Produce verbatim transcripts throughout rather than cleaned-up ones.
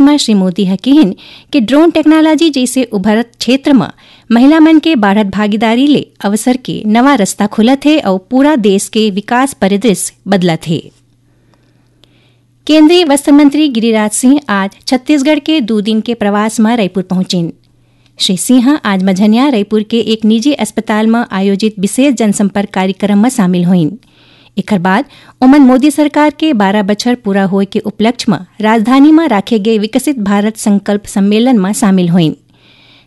म श्री मोदी ह किहिन कि ड्रोन टेक्नोलॉजी जइसे उभरत क्षेत्र म महिला मन के बाढ़त भागीदारी ले अवसर के नवा रस्ता खुलत हे अउ पूरा देश के विकास परिदृश्य बदलत हे। केंद्रीय वस्त्र मंत्री गिरिराज सिंह आज छत्तीसगढ़ के दू दिन के प्रवास म रायपुर पहुंचिन। श्री सिंह आज मझनिया रायपुर के एक निजी अस्पताल म आयोजित विशेष जनसंपर्क कार्यक्रम म शामिल होइन। एखर बाद ओमन मोदी सरकार के बारह बछर पूरा होए के उपलक्ष्य म राजधानी म राखे गे विकसित भारत संकल्प सम्मेलन म शामिल होइन।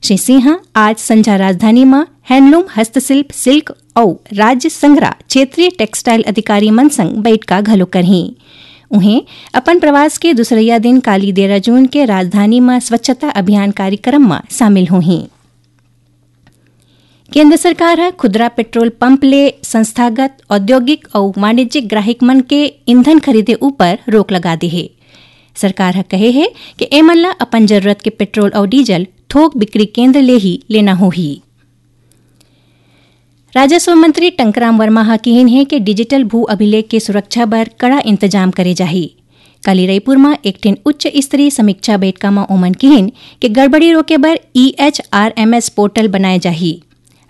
श्री सिंह आज संझा राजधानी म हैंडलूम, हस्तशिल्प, सिल्क अउ राज्य संग्रह क्षेत्रीय टेक्सटाइल अधिकारी मन संग बैठका घलो करहीं। उहें, अपन प्रवास के दूसरइया दिन काली तेरह जून के राजधानी म स्वच्छता अभियान कार्यक्रम म शामिल होहीं। केंद्र सरकार ह खुदरा पेट्रोल पंप ले संस्थागत, औद्योगिक अउ वाणिज्यिक ग्राहक मन के ईंधन खरीदे ऊपर रोक लगा दे हे। सरकार ह कहे हे कि एमन ल अपन जरूरत के पेट्रोल अउ डीजल थोक बिक्री केंद्र ले ही लेना होही। राजस्व मंत्री टंकराम वर्मा ह किहिन हे कि डिजिटल भू अभिलेख के सुरक्षा बर कड़ा इंतजाम करे जाही। काली रायपुर म एक ठिन उच्च स्तरीय समीक्षा बैठका म ओमन किहिन कि गड़बड़ी रोके बर E H R M S portal बनाए जाही।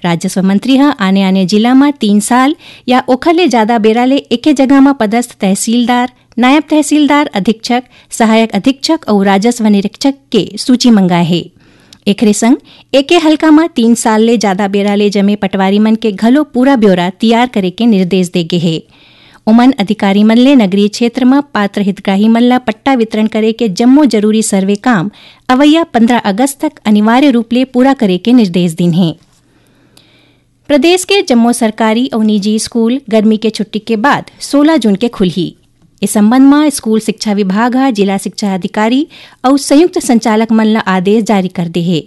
राजस्व मंत्री ह आने-आने जिला म तीन साल या ओखर ले जादा बेरा ले एके जगह म पदस्थ तहसीलदार, नायब तहसीलदार, अधीक्षक, सहायक अधीक्षक अउ राजस्व निरीक्षक के सूची मंगाए हे। एखरे संग एके हल्का म तीन साल ले जादा बेरा ले जमे पटवारी मन के घलो पूरा ब्यौरा तियार करे के निर्देश दे गे हे। ओमन अधिकारी मन ले नगरीय क्षेत्र म पात्र हितग्राही मन ल पट्टा वितरण करे के जम्मो जरूरी सर्वे काम अवइया पंद्रह अगस्त तक अनिवार्य रूप ले पूरा करे के निर्देश दीन हे। प्रदेश के जम्मो सरकारी अउ निजी स्कूल गर्मी के छुट्टी के बाद सोलह जून के खुलही। इस संबंध म स्कूल शिक्षा विभाग ह जिला शिक्षा अधिकारी अउ संयुक्त संचालक मन ल आदेश जारी कर दे हे।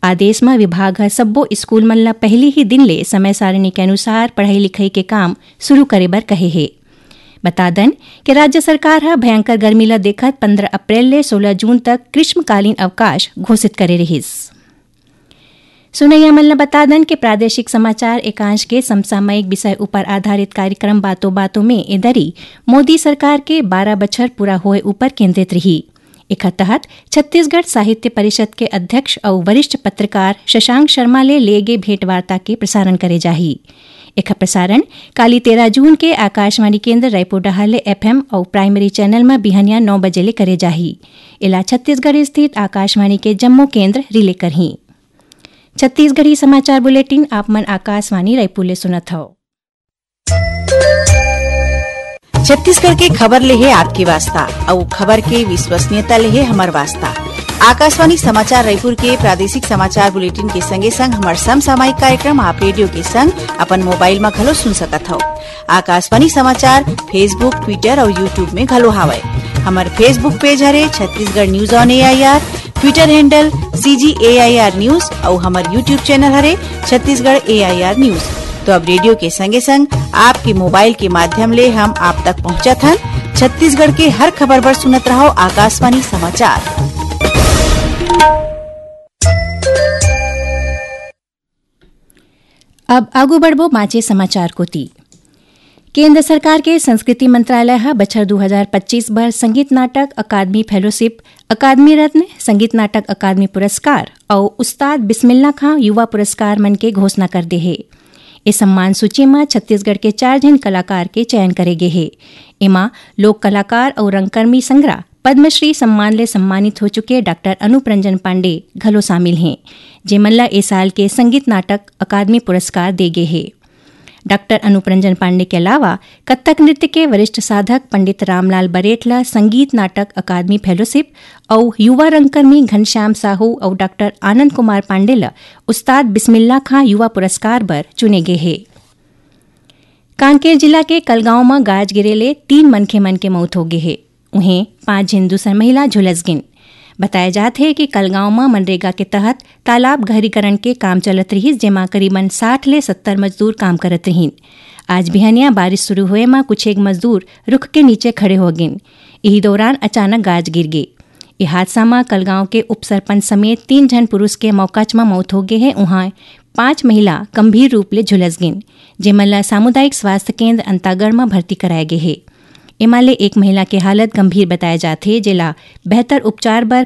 आदेश म विभाग ह सब्बो स्कूल मन ल पहिली ही दिन ले समय सारिणी के अनुसार पढ़ाई लिखाई के काम शुरू करे बर कहे हे। बता दन कि राज्य सरकार ह भयंकर गर्मी ल देखत पंद्रह अप्रैल ले सोलह जून तक ग्रीष्मकालीन अवकाश घोषित करे रिहिस। सुनैया मन ल बता दन कि प्रादेशिक समाचार एकांश के समसामयिक विषय ऊपर आधारित कार्यक्रम बातों बातों में ए दरी मोदी सरकार के बारह बछर पूरा होए ऊपर केंद्रित रही। एखर तहत छत्तीसगढ़ साहित्य परिषद के अध्यक्ष अउ वरिष्ठ पत्रकार शशांक शर्मा ले ले गे भेंटवार्ता के प्रसारण करे जाही। एखर प्रसारण काली तेरह जून के आकाशवाणी केंद्र रायपुर डहार ले एफ एम अउ प्राइमरी चैनल म बिहनिया नौ बजे ले करे जाही। एला छत्तीसगढ़ स्थित आकाशवाणी के जम्मो केंद्र रिले करही। छत्तीसगढ़ी समाचार बुलेटिन आप मन आकाशवाणी रायपुर ले सुनत हव। छत्तीसगढ़ के खबर ले हे आपके वास्ता, अउ खबर के विश्वसनीयता ले हे हमर वास्ता। आकाशवाणी समाचार रायपुर के प्रादेशिक समाचार बुलेटिन के संगे संग हमर समसामयिक कार्यक्रम आप रेडियो के संग अपन मोबाइल म घलो सुन सकत हव। आकाशवाणी समाचार Facebook, Twitter अउ YouTube में घलो हावय। हमर Facebook पेज हरे Chhattisgarh news on A I R, Twitter handle C G A I R news अउ हमर YouTube चैनल हरे छत्तीसगढ़ ए आई आर न्यूज। तो अब रेडियो के संगे संग आपके मोबाइल के माध्यम ले हम आप तक पहुंचत हन। छत्तीसगढ़ के हर खबर बर सुनत रहव आकाशवाणी समाचार। अब आगू बढ़बो बांचे समाचार कोति। केंद्र सरकार के संस्कृति मंत्रालय ह बछर दू हजार पच्चीस बर संगीत नाटक अकादमी फेलोशिप, अकादमी रत्न, संगीत नाटक अकादमी पुरस्कार अउ उस्ताद बिस्मिल्ला खां युवा पुरस्कार मन के घोषणा कर दे हे। ए सम्मान सूची म छत्तीसगढ़ के चार झन कलाकार के चयन करे गे हे। एमा लोक कलाकार अउ रंगकर्मी संग्रह पद्मश्री सम्मान ले सम्मानित हो चुके डॉक्टर अनूप रंजन पांडे घलो शामिल हें, जेमन ल ए साल के संगीत नाटक अकादमी पुरस्कार दे गे हे। डॉक्टर अनूप रंजन पांडे के अलावा कत्थक नृत्य के वरिष्ठ साधक पंडित रामलाल बरेठ ल संगीत नाटक अकादमी फेलोशिप अउ युवा रंगकर्मी घनश्याम साहू अउ डॉक्टर आनंद कुमार पांडे ल उस्ताद बिस्मिल्ला खां युवा पुरस्कार बर चुने गे हे। कांकेर जिला के कलगांव म गाज गिरे ले तीन मनखे मन के मौत हो गे हे। उहें, पांच झिन दूसर महिला झुलस गिन। बताया जात हे कि कलगांव म मनरेगा के तहत तालाब गहरीकरण के काम चलत रिहिस, जेमा करीबन साठ ले सत्तर मजदूर काम करत रिहिन। आज बिहनिया बारिश शुरू होए म कुछ एक मजदूर रुख के नीचे खड़े हो गिन। इही दौरान अचानक गाज गिर गे। ए हादसा म कलगांव के उपसरपंच समेत तीन झन पुरुष के मौकाच म मौत हो गे हे। उहां पांच महिला गंभीर रूप ले झुलस गिन, जेमन ल सामुदायिक स्वास्थ्य केंद्र अंतागढ़ म भर्ती कराए गे हे। एमा ले एक महिला के हालत गंभीर बताए जात हे, जेला बेहतर उपचार बर